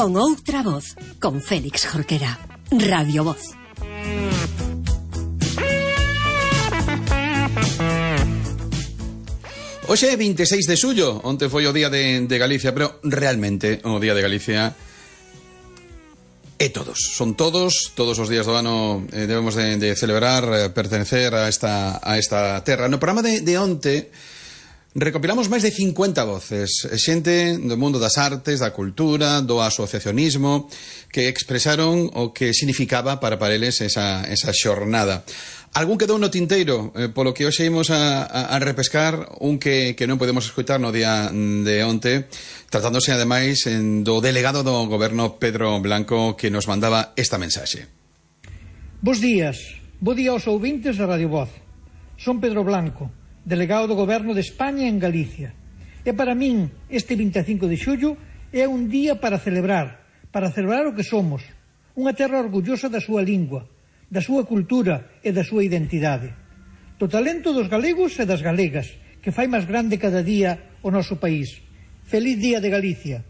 Con outra voz, con Félix Jorquera. Radio Voz. Hoxe é 26 de xullo, onte foi o día de Galicia, pero realmente o día de Galicia é todos. Son todos os días do ano debemos de celebrar, pertenecer a esta terra. No programa de onte recopilamos máis de 50 voces, xente do mundo das artes, da cultura, do asociacionismo, que expresaron o que significaba para eles esa xornada. Algún quedou no tinteiro, polo que hoxe imos a repescar un que non podemos escoitar no día de onte, tratándose ademais do delegado do goberno Pedro Blanco, que nos mandaba esta mensaxe. Bos días, bo día aos ouvintes da Radio Voz. Son Pedro Blanco, delegado do Goberno de España en Galicia. E para min, este 25 de xullo é un día para celebrar o que somos, unha terra orgullosa da súa lingua, da súa cultura e da súa identidade, do talento dos galegos e das galegas, que fai máis grande cada día o noso país. Feliz Día de Galicia.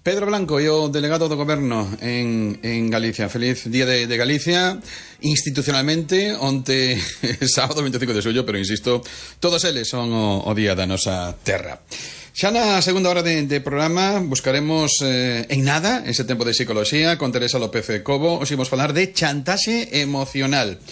Pedro Blanco e o delegado do goberno en Galicia. Feliz Día de Galicia. Institucionalmente, onte sábado 25 de xullo, pero insisto, todos eles son o día da nosa terra. Xa na segunda hora de programa buscaremos en nada ese tempo de psicoloxía con Teresa López Cobo. Os imos falar de chantaxe emocional.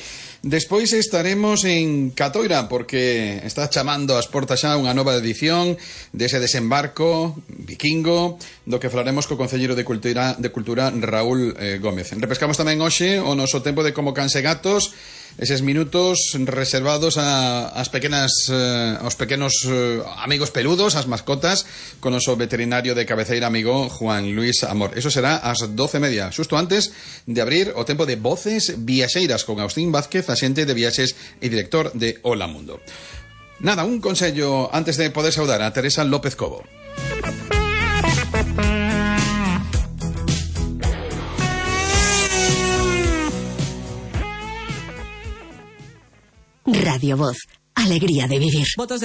Despois estaremos en Catoira, porque está chamando ás portas xa unha nova edición dese desembarco vikingo, do que falaremos co concelleiro de Cultura Raúl Gómez. Repescamos tamén hoxe o noso tempo de Como Cans e Gatos, eses minutos reservados aos pequenos amigos peludos, as mascotas, con o noso veterinario de cabeceira amigo Juan Luis Amor. Eso será ás 12:30, xusto antes de abrir o tempo de Voces Viaxeiras con Agustín Vázquez, axente de viaxes e director de Hola Mundo. Nada, un consello antes de poder saudar a Teresa López Cobo. Radio Voz, alegría de vivir. Votos